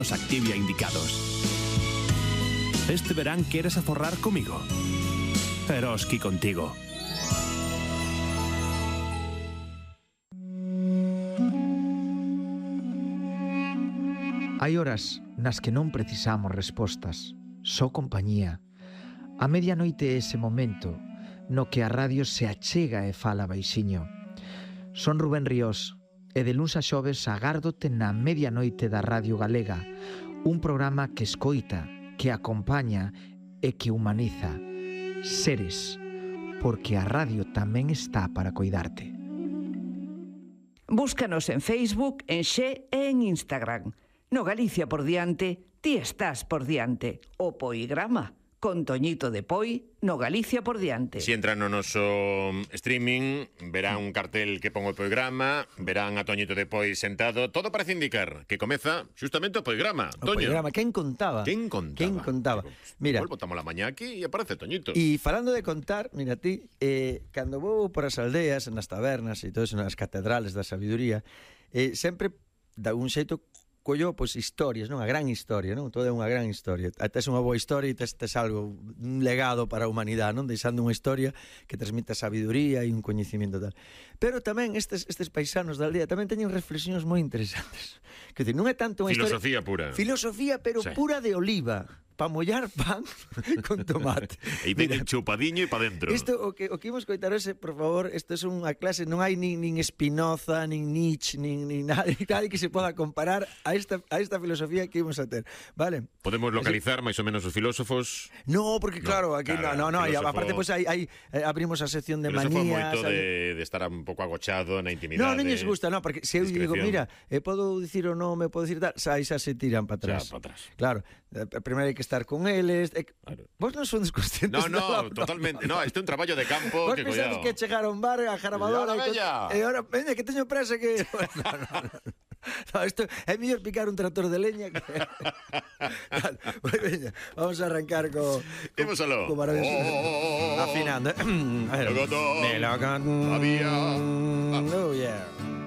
Os Activia indicados. Este verán queres aforrar comigo? Eroski contigo. Hai horas nas que non precisamos respostas, só compañía. A medianoite é ese momento no que a radio se achega e fala baixiño. Son Rubén Ríos e de luns a xoves agárdote na medianoite da Radio Galega, un programa que escoita, que acompaña e que humaniza. Seres, porque a radio tamén está para coidarte. Búscanos en Facebook, en Xe e en Instagram. No Galicia por diante, ti estás por diante. O Poigrama, con Toñito de Poi, no Galicia por diante. Si entran no noso streaming, verán un cartel que pon o Poigrama, verán a Toñito de Poi sentado. Todo parece indicar que comeza justamente o Poigrama. O Toño. Poigrama, quen contaba? Quen contaba? Mira, Botamos la mañá aquí e aparece Toñito. E falando de contar, mira ti, cando vou por as aldeas, nas tabernas e todo eso, nas catedrales da sabiduría, sempre da un xeito collo, pois, historias, non? A gran historia, non? Todo é unha gran historia. Tes unha boa historia e tes algo, un legado para a humanidade, non? Deixando unha historia que transmite sabiduría e un coñecimiento tal. Pero tamén estes paisanos da aldea tamén teñen reflexións moi interesantes. Que non é tanto unha filosofía historia... pura. Filosofía, pero sí, pura de oliva. Para mollar pan con tomate. E ven chupadiño e pa dentro. Isto, o que imos coitar hoxe, por favor, isto é unha clase, non hai nin Spinoza, nin Nietzsche, nin nadie que se poda comparar a esta filosofía que imos a ter, vale? Podemos localizar máis ou menos os filósofos? No, porque claro, aquí no, e aparte pois hai abrimos a sección de manías. Moito de estar un pouco agochado na intimidade. Non lles gusta, non, porque se eu digo, mira, podo dicir o nome, podo dicir tal, xa se tiran para atrás. Claro, primeiro hai que estar con eles. Claro. Vos non sodes conscientes? No, totalmente. No, este é un traballo de campo. Vos pensades que chegar a un bar, a jarabadora e ahora, veña, que teño presa que... No, isto é mellor picar un tractor de leña que... Veña, vamos a arrancar co maravilloso. Afinando. Melocotón. Había. Oh, yeah.